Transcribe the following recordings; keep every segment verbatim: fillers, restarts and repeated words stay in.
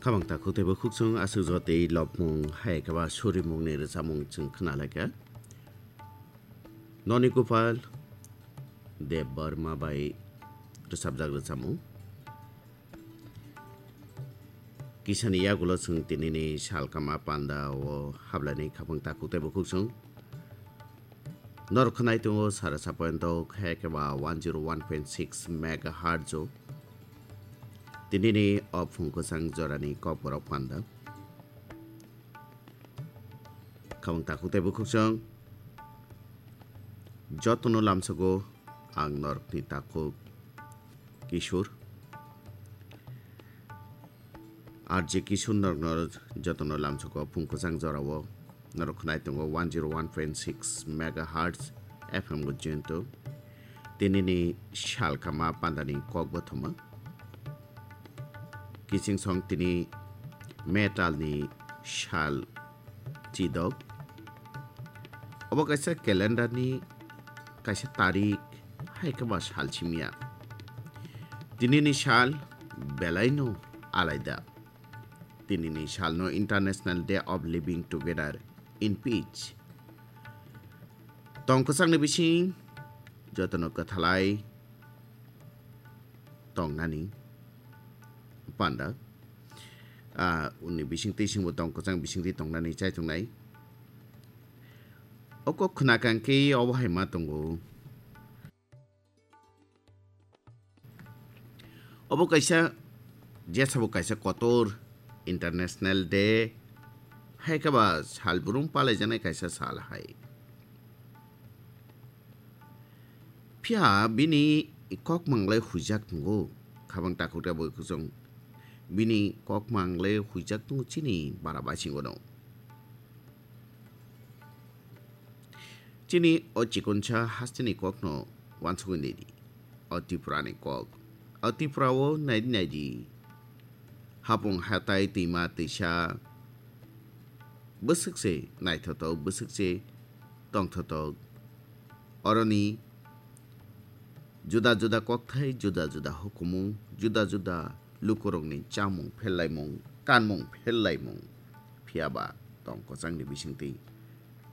Khabang takhuk teibo khukchung aswk jotei lobmung hai khe ba surimungni rwchapmung chwng khna lai kha. Noni Gopal Debbarma bai rwchapjak rwchapmung. Kisani yagulo chwng tinini salkama panda o hablaini khabang takhuk teibo khukchung. Norok khwnai tongo sara sa point o khe khe ba one zero one point six megahertz o. Tinini o phung kwchang jorani kokborok panda. Khabang takhuk teibo khukchung. Jotono lamsogo ang norokni takhuk Kishore. R J Kishore norokno jotono lamsogo phung kwchang jorao norok khwnai tongo one zero one point six megahertz F M o jento. Tinini salkama pandani kokbothoma. Kiching song tini metalni sal chidok. Obo kaisa calendarni kaisa tarik hai khe ba sal simiya. Tinini sal belaino alaida. Tinini salno International Day of Living Together in Peace. Tong kwchangni bising jotono kwthalai tongnani panda. Ah, uni bising twi singbo tong kwchang bising twi tongnani chai tongnai. Oko khwna kang khe obo hai ma tongo. Obo kaisa, jesabo kaisa kotor International Day, hai khe ba sal brum palaijaknai kaisa sal hai. Phiya bini kok manglai huijak tongo, khabang takhuk teibo khukchung. Bini kok manglai huijak tongo chini bara basingo no. Chini o chikonsa hasteni kokno wansugwi naidi. O Tripurani kok. O Tripura o naidi naidi. Hapung hatai twima twisa. Bwswk se naithotok, bwswk se tongthotok. Oroni juda juda kokthai, juda juda hukumu, juda juda lukurokni chamung phellaimung, kanmung phellaimung, phiya ba tong kwchangni bisingtwi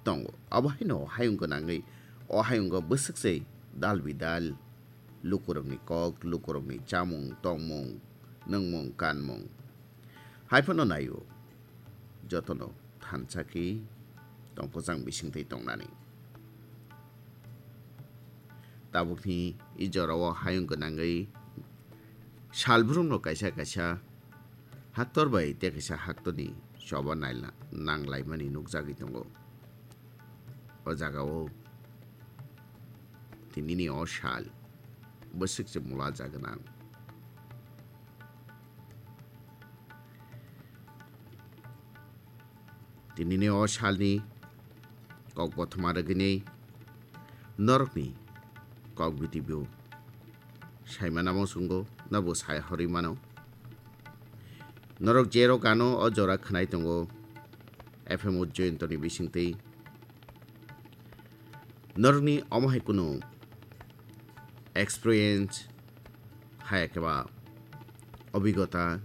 tongo. Abo haino o hayung gwnangwi, o hayungo bwswk se dal bidal lukurokni kok, lukurokni chamung, tongmung, nwngmung, kanmung. Hai phano naio, jotono thansa khe tong kwchang bisingtwi tongnani. Tabukni i jorao hayung gwnangwi salbrumno kaisa kaisa haktor bai tei kaisa haktorni choba naila-, nanglaimani nukjagwi tongo. O jagao tinini o sal bwswk se mula jagwnang. Tinini o salni kok bothoma rwgwini norokni kok bitibo saimana muchungo, nobo sai horwi mano. Norok jerok ano o jora khwnai tongo F M Ujjayantoni bisingtwi. Norokni omo hai kunu experience hai khe ba obigota